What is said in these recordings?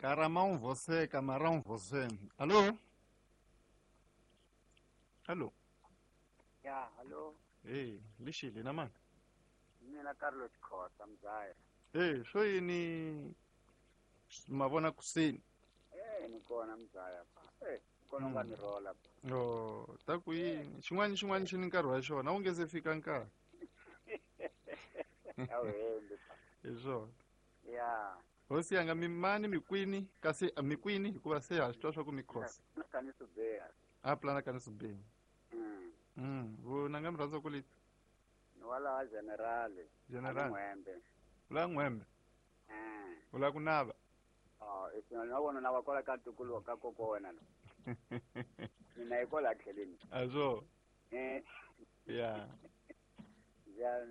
Caramão você, camarão você. Alô? Alô? Ya, hallo. Hey, lixile na mani? Mina Carlos Khosa Mzaya. Hey, swo yini mavona kuseni? Eh, ni kona Mzaya pa. Eh, kona nga ni rola pa. Oh, ta ku yini? Xin'wana xin'wana xi ni nkarhi wa xona, wu nge se fika nkarhi. A wu hembi pa. Hi swona. Ya. Hosi yanga mi mani mi kwini kasi mi kwini hikuva se ha swi twa swa ku mi khosa. Na kani subeya. A plana kani subeni. Vona nga mi rhandza ku leti. Ni wala general. General. N'wembe. Ula n'wembe. Eh. Ula ku nava. Oh, na vona na va kola ka ntukulu ka koko wena lo. Mina yi kola tlheleni. Azo. Eh. Ya. Ya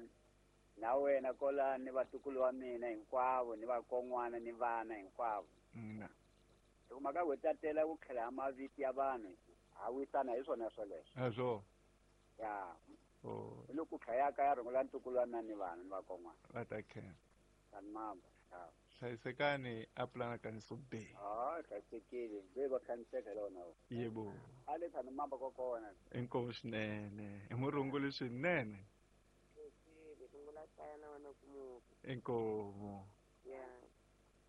na wena kola ni vatukulu wa mina hinkwavo ni vakon'wana ni vana hinkwavo. Na. Loko mhaka ku tatela ku tlhela mavito ya vanhu ha wisana hi swona swoleswo. Azo. Ya. Oh. Hi loko khayaka ya rhungula ntukulu wa mina ni vana ni vakon'wana. Va ta khensa. Tani mamba. Hlayisekani a pulana ka nisobeni. Ah, hlayisekile. Ve va khaniseka hi lona. Yebo. A le tani mamba kokona. Inkomu swinene. I murunguli swinene. Inkomu. Ya.